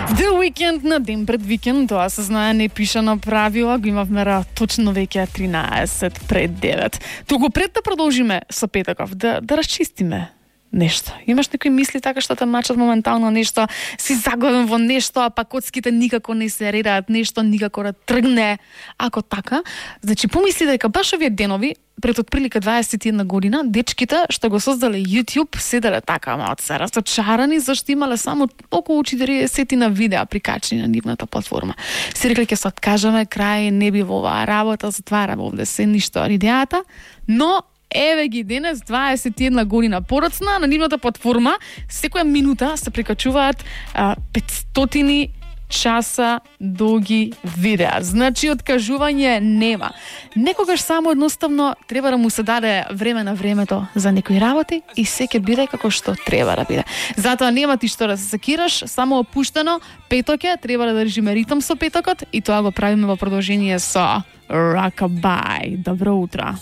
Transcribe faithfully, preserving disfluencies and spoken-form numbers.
The Weekend на ден пред викенд, тоа се знае непишано правило, го имавме точно веќе тринаесет пред девет. Туку пред да продолжиме со петоков, да, да расчистиме нешто. Имаш некои мисли така што те мачат моментално нешто, си заглавен во нешто, а па коцките никако не се редаат, нешто никако да тргне. Ако така, значи помисли дека баш овие денови, пред отприлика дваесет и една година, дечките што го создале YouTube седеле така малку се разочарани зашто имале само околу четириесет на видеа прикачени на нивната платформа. Си рекле ќе се откажаме, крај, не би во оваа работа, затвараме овде се ништо идејата, но еве ги денес, дваесет и една година подоцна, на нивната платформа секоја минута се прикачуваат а, петстотини часа долги видеа. Значи, откажување нема. Некогаш само едноставно треба да му се даде време на времето за некои работи и се ќе биде како што треба да биде. Затоа нема ти што да се секираш, само опуштено, петок е, треба да држиме ритм со петокот и тоа го правиме во продолжение со Rockabye. Добро утро.